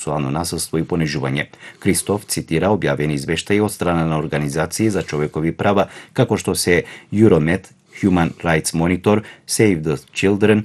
сексуално насилство и понижување. Кристоф цитира објавени извештаи од страна на организации за човекови права, како што се Euromed, Human Rights Monitor, Save the Children,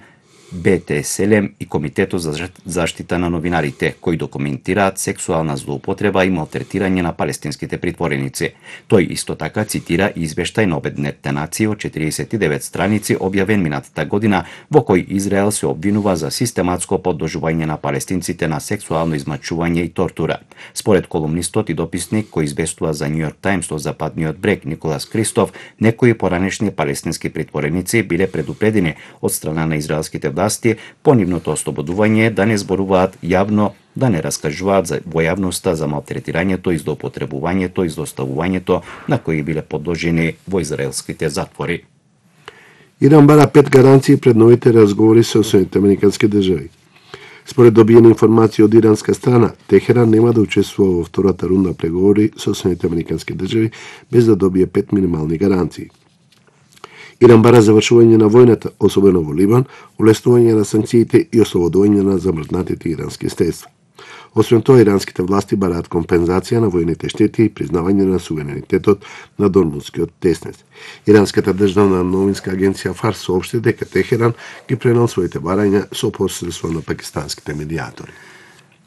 БТСЛМ и Комитетот за заштита на новинарите, кои документираат сексуална злоупотреба и малтретирање на палестинските притвореници. Тој исто така цитира извештај на Обединетите нации од 49 страници објавен минатата година, во кој Израел се обвинува за систематско подложување на палестинците на сексуално измачување и тортура. Според колумнистот и дописник кој известува за New York Times од Западниот брег Николас Кристоф, некои поранешни палестински притвореници биле предупредени од страна на израелските власти по нивното ослободување да не зборуваат јавно, да не раскажуваат во јавноста за малтретирањето и злоупотребувањето и злоставувањето на кои биле подложени во израелските затвори. Иран бара 5 гаранции пред новите разговори со Соединетите американски држави. Според добиена информација од иранска страна, Техеран нема да учествува во втората рунда преговори со Соединетите американски држави без да добие 5 минимални гаранции. Иран бара завршување на војната, особено во Либан, улеснување на санкциите и ослободување на замрзнатите ирански средства. Освен тоа, иранските власти бараат компензација на војните штети и признавање на суверенитетот на Дормутскиот теснес. Иранската државна новинска агенција ФАРС соопшти дека Техеран ги пренел своите барања со посредство на пакистанските медијатори.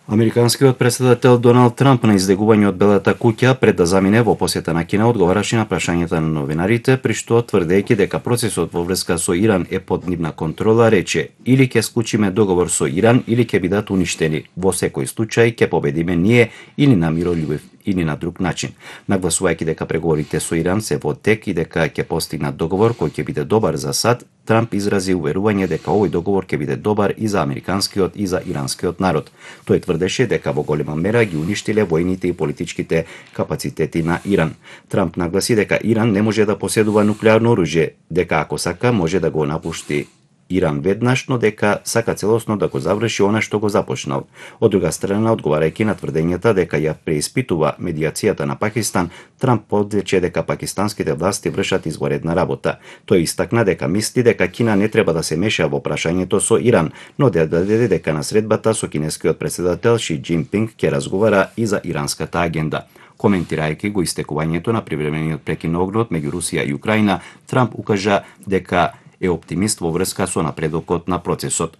Американскиот претседател Доналд Трамп на издегување од Белата куќа пред да замине во посета на Кина одговараше на прашањата на новинарите, при што тврдејќи дека процесот во врска со Иран е под нивна контрола, рече: "Или ќе склучиме договор со Иран, или ќе бидат уништени. Во секој случај ќе победиме ние или на миролюбив или на друг начин." Нагласувајќи дека преговорите со Иран се во тек и дека ќе постигнат договор кој ќе биде добар за САД, Трамп изрази уверување дека овој договор ќе биде добар и за американскиот и за иранскиот народ. Тој тврдеше дека во голема мера ги уништиле војните и политичките капацитети на Иран. Трамп нагласи дека Иран не може да поседува нуклеарно оружје, дека ако сака може да го напушти Иран веднаш, но дека сака целосно да го заврши она што го започнал. Од друга страна, одговарајќи на тврдењата дека ја преиспитува медијацијата на Пакистан, Трамп подрече дека пакистанските власти вршат изворедна работа. Тој истакна дека мисли дека Кина не треба да се меша во прашањето со Иран, но да даде дека на средбата со кинескиот претседател Ши Џинпинг ќе разговара и за иранската агенда. Коментирајќи го истекувањето на привремениот прекин на огнот меѓу Русија и Украина, Трамп укажа дека е оптимист во врска со напредокот на процесот.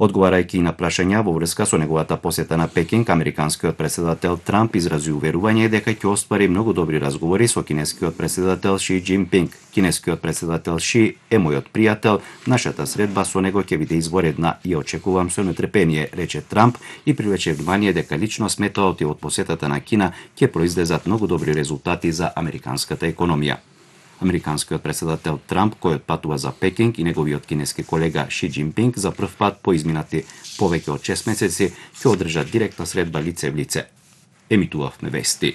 Одговарајќи на прашања во врска со неговата посета на Пекинг, американскиот претседател Трамп изрази уверување дека ќе оствари многу добри разговори со кинескиот претседател Ши Џинпинг. Кинескиот претседател Ши е мојот пријател, нашата средба со него ќе биде изворедна и очекувам со нетрпение, рече Трамп и привлече внимание дека лично сметаот и од посетата на Кина ќе произлезат многу добри резултати за американската економија. Американскиот претседател Трамп, кој патува за Пекинг, и неговиот кинески колега Ши Џинпинг за прв пат по изминати повеќе од 6 месеци ќе одржат директна средба лице в лице. Емитувавме вести.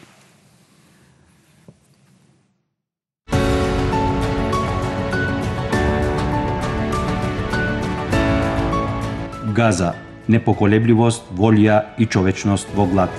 Газа, непоколебливост, волја и човечност во глад.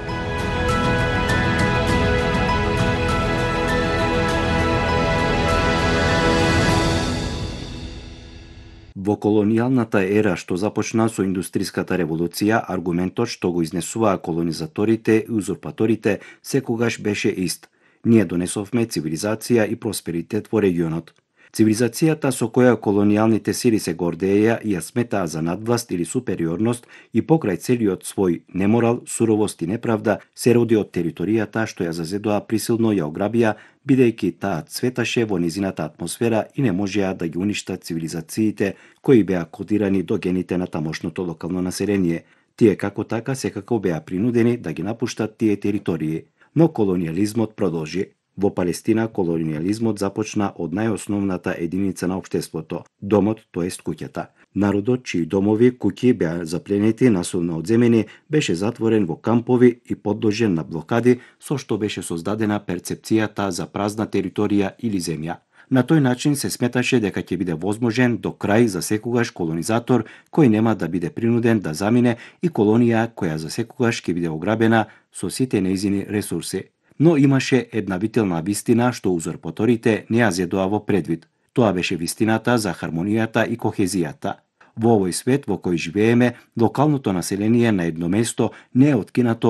Во колонијалната ера што започна со индустриската револуција, аргументот што го изнесуваа колонизаторите и узурпаторите секогаш беше ист. Ние донесовме цивилизација и просперитет во регионот. Цивилизацијата со која колонијалните сили се гордеја и ја сметаа за надвласт или супериорност и покрај целиот свој неморал, суровост и неправда се роди од територијата што ја зазедоа присилно ја ограбија, бидејќи таа цветаше во низината атмосфера и не можеа да ги уништат цивилизациите кои беа кодирани до гените на тамошното локално население. Тие како така секако беа принудени да ги напуштат тие територии. Но колонијализмот продолжи. Во Палестина колонијализмот започна од најосновната единица на општеството – домот, тоест куќата. Народот, чии домови, куќи беа запленети, насилно одземени, беше затворен во кампови и подложен на блокади, со што беше создадена перцепцијата за празна територија или земја. На тој начин се сметаше дека ќе биде возможен до крај за секогаш колонизатор кој нема да биде принуден да замине и колонија која за секогаш ќе биде ограбена со сите нејзини ресурси. Но имаше една вителна вистина што узурпаторите не ја зедоа во предвид. Тоа беше вистината за хармонијата и кохезијата. Во овој свет во кој живееме, локалното население на едно место не е откинато